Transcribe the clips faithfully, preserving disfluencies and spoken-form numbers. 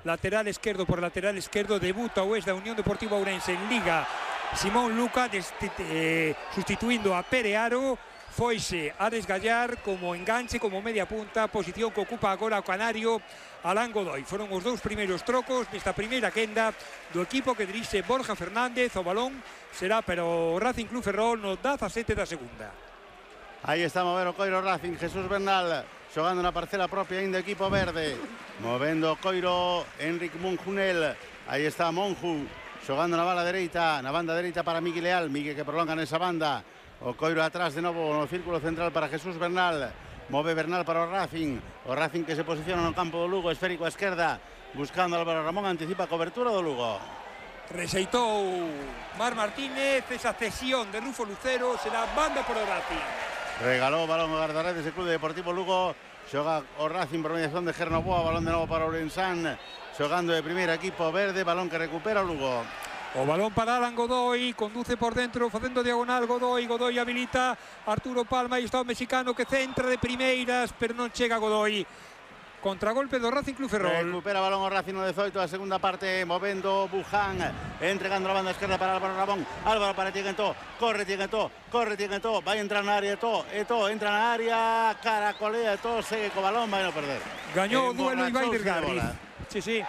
Lateral esquerdo por lateral esquerdo, debuta o es da Unión Deportiva Ourense en Liga Simón Luca, eh, sustituindo a Pere Aro. Foise a desgallar como enganche, como media punta, posición que ocupa agora o canario Alán Godoy. Foron os dous primeiros trocos nesta primeira quenda do equipo que dirixe Borja Fernández. O balón será para o Racing Club Ferrol no dezasete da segunda. Aí está a mover o coiro Racing, Jesús Bernal xogando na parcela propia ainda equipo verde, movendo o coiro Enric Monjunel. Aí está Monju xogando na bala dereita, na banda dereita para Miguel Leal, Miguel que prolonga nesa banda. O coiro atrás de novo no círculo central para Jesús Bernal. Move Bernal para o Racing. O Racing que se posiciona no campo do Lugo, esférico a esquerda, buscando Álvaro Ramón, anticipa a cobertura do Lugo. Rexeitou Mar Martínez esa cesión de Rufo Lucero, será banda por o Racing. Regalou o balón o guardaredes do Club Deportivo Lugo. Xoga o Racing por mediación de Gernoboa, balón de novo para Ourensán, xogando de primeiro equipo verde, balón que recupera o Lugo. O balón para Alan Godoy, conduce por dentro, facendo diagonal Godoy, Godoy habilita Arturo Palma, e está o mexicano que centra de primeiras, pero non chega Godoy. Contragolpe do Racing Club Ferrol. Recupera balón o Racing no dezoito, a segunda parte, movendo Buján, entregando a banda esquerda para Álvaro Ramón. Álvaro para Tieguentó, corre Tieguentó, corre Tieguentó, vai entrar na área Eto'o, Eto'o entra na área, caracolea Eto'o, segue co balón, vai non perder. Gañou o duelo Ibai Vergarri. Sí, sí.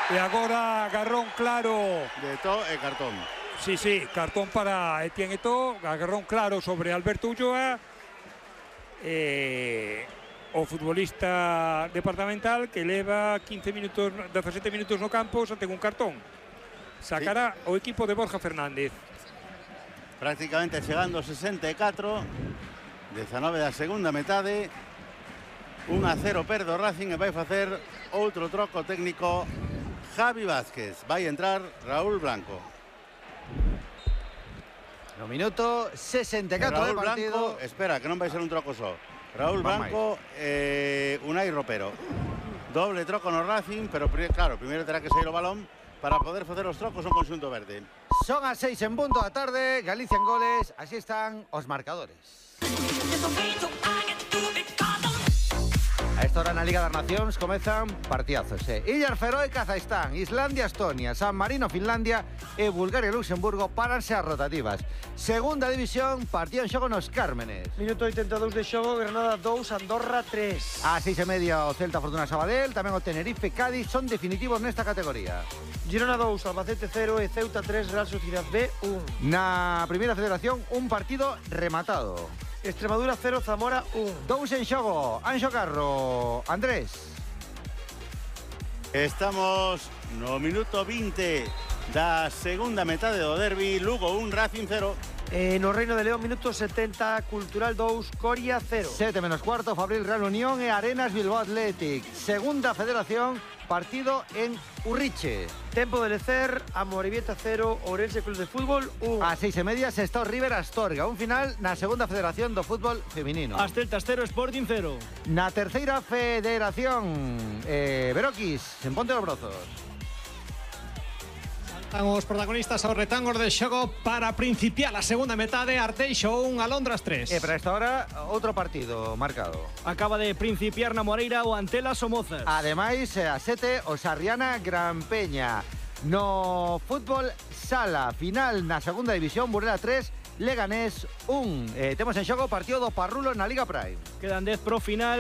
E agora agarrón claro de Eto'o e cartón. Sí, sí, cartón para Etienne Eto'o, agarrón claro sobre Alberto Ulloa. Eh, o futbolista departamental que leva quince minutos, dezasete minutos no campo, xa ten un cartón. Sacará sí o equipo de Borja Fernández. Prácticamente chegando sesenta e catro, dezanove da segunda metade. un a cero perde o Racing e vai facer outro troco técnico Javi Vázquez. Vai entrar Raúl Blanco. No minuto sesenta e catro Raúl de partido. Blanco, espera, que non vai ser un troco só. Raúl Blanco e eh, Unai Ropero. Doble troco no Racing, pero claro, primeiro terá que sair o balón para poder facer os trocos no conxunto verde. Son as seis en punto da tarde, Galicia en goles, así están os marcadores. A esta hora na Liga das Nacións comezan partidazos. Eh? Illas Feroe, Kazajstán, Islandia, Estonia, San Marino, Finlandia e Bulgaria, Luxemburgo paranse as rotativas. Segunda división, partido en xogo nos Cármenes. Minuto oitenta e dous de xogo, Granada dous, Andorra tres. A seis e media o Celta, Fortuna, Sabadell, tamén o Tenerife, Cádiz son definitivos nesta categoría. Girona dous, Albacete cero e Ceuta tres, Real Sociedad B un. Na primeira federación, un partido rematado. Extremadura cero, Zamora un. Dous en xogo, Anxo Carro, Andrés. Estamos no minuto vinte da segunda metade do derbi, Lugo un, Racing cero. Eh, no Reino de León, minuto setenta, Cultural dous, Coria cero. sete menos cuarto, Fabril Real Unión e Arenas Bilbao Athletic. Segunda federación, partido en Urriche. Tempo de Lecer, Amorebieta cero, Ourense Club de Fútbol un. A seis e media, Sestao River Astorga. Un final na segunda federación do fútbol feminino. As Celtas cero, Sporting cero. Na terceira federación, eh, Beroquis, en Ponte dos Brozos. Saltan os protagonistas aos retangos de xogo para principiar a segunda metade. Arteixo un, Alondras tres. E para esta hora, outro partido marcado. Acaba de principiar na Moreira o Antela Somozas. Ademais, a sete, o Sarriana Gran Peña. No fútbol sala, final na segunda división, Burela tres, Leganés un. Eh, temos en xogo o partido do Parrulo na Liga Prime. Quedan dez pro final,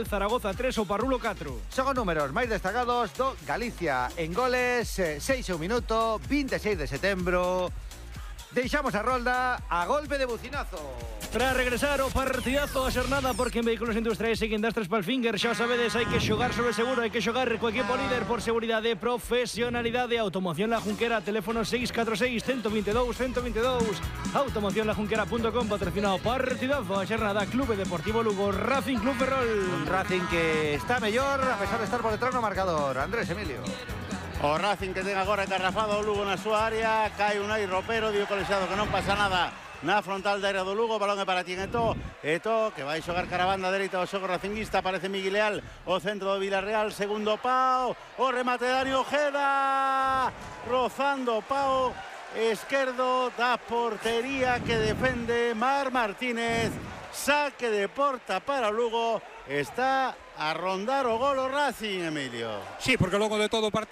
Zaragoza tres, o Parrulo catro. Son os números máis destacados do Galicia en goles, eh, seis e un minuto, vinte e seis de setembro. Deixamos a rolda a golpe de bucinazo. Para regresar o partidazo a xornada, porque en Vehículos Industriais seguindo as tres Palfinger, xa sabedes, hai que xogar sobre seguro, hai que xogar co equipo líder por seguridade, profesionalidade. Automoción La Junquera, teléfono seis catro seis, uno dos dous, uno dos dous. automoción la junquera punto com, patrocinado partidazo a xornada, Clube Deportivo Lugo, Racing Club Ferrol. Un Racing que está mellor a pesar de estar por detrás no marcador. Andrés Emilio. O Racing que ten agora engarrafado o Lugo na súa área, cae Unai Ropero, dio colexiado que non pasa nada na frontal da área do Lugo, balón é para Tien Eto'o, Eto'o que vai xogar cara a banda dereita do xogo racinguista, aparece Miguel Leal, o centro do Villarreal, segundo pau, o remate de Dani Ojeda, rozando pau esquerdo da portería que defende Mar Martínez, saque de porta para o Lugo, está a rondar o gol o Racing, Emilio. Sí, porque logo de todo o partido